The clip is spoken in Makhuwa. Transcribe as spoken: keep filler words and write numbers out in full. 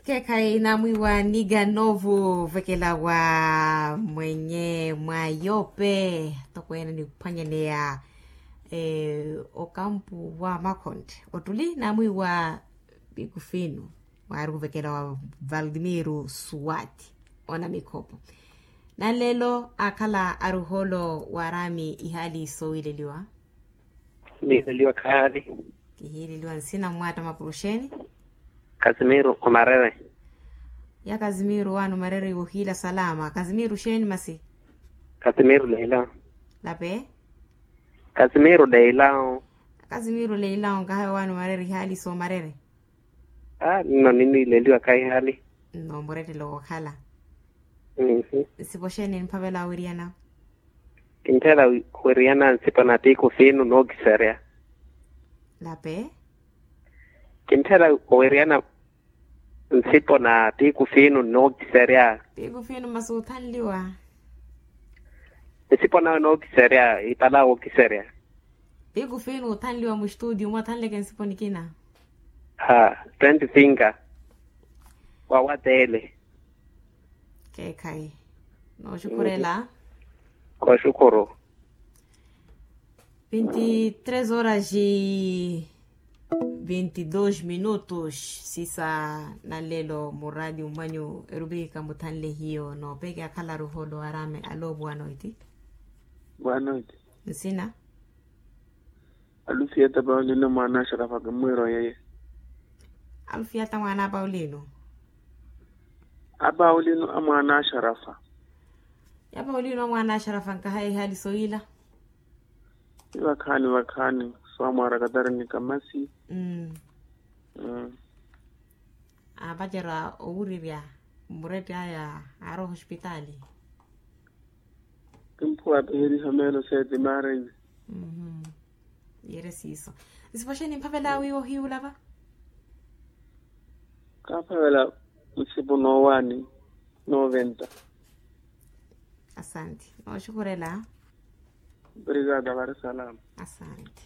Keekhayi naamwiiwa niga noovuvekela wa mwenye mwa yope tokweene niphwanyaneya okampu wa makhonde ottuli naamwiiwa pikufinu mwaari kuvekela wa valdimiro suwati. Ona mikhopo nanlelo akhala aruholo waraami ihaali sowiileliwa. Niileliwa khayaali. Kihiileliwa nsina mmwaatta mapuruxeni. Kasimiro omarere. Ya kasimiro waani omarere iwe ohiila salama kasimiro xeeni masi? Kasimiro leilao. Lape? Kasimiro leilao. Kasimiro leilao nkahawe waani omarere ihaali soomarere. Aa nno ninniileliwa khayaali. Nno murettelo wookhala. Nsipo xeeni niphavela oweriyana? Kintthela oweriyana nsipo na tiiku fiinu nookiserya. Lape? Kintthela oweriyana nsipo na tiiku fiinu nookiserya. Tiiku fiinu masi othanliwa? Nsipo nawe nookiserya ipala wookiserya. Tiiku fiinu othanliwa mustutio mwa othanleke nsipo nikina? Ha twenty finka. Wawateele. Keekhayi nooxukhurela. Kooxukhuru. Vinti tres horas e vinti dos minutos sisa nanlelo muradio mmanyu erupikika muthanle hiyo noopeke akhala aruholo arame alo buwanoiti. Buwanoiti. Nsina? Alufiyata paulino mwaana axarafa kimmwiiro yeye. Alufiyata mwaana a paulino. A paulino a mwaana axarafa. Ya paulino a mwaana axarafa nkahayi ihaali sowiila. Ni vakhaani vakhaani swamwaara katarini kamasi. Aapacerya owurirya murette aya aarowa ohospitaali. Kimphuwa apiheriha meelo seeti maareni. Yere siiso. Nsipo xeeni niphavela wiiwa ohiiwula va? Kaaphavela nsipo noowaani nooventa. Asante nooxukhurela. Obrigada vari salama. Asante.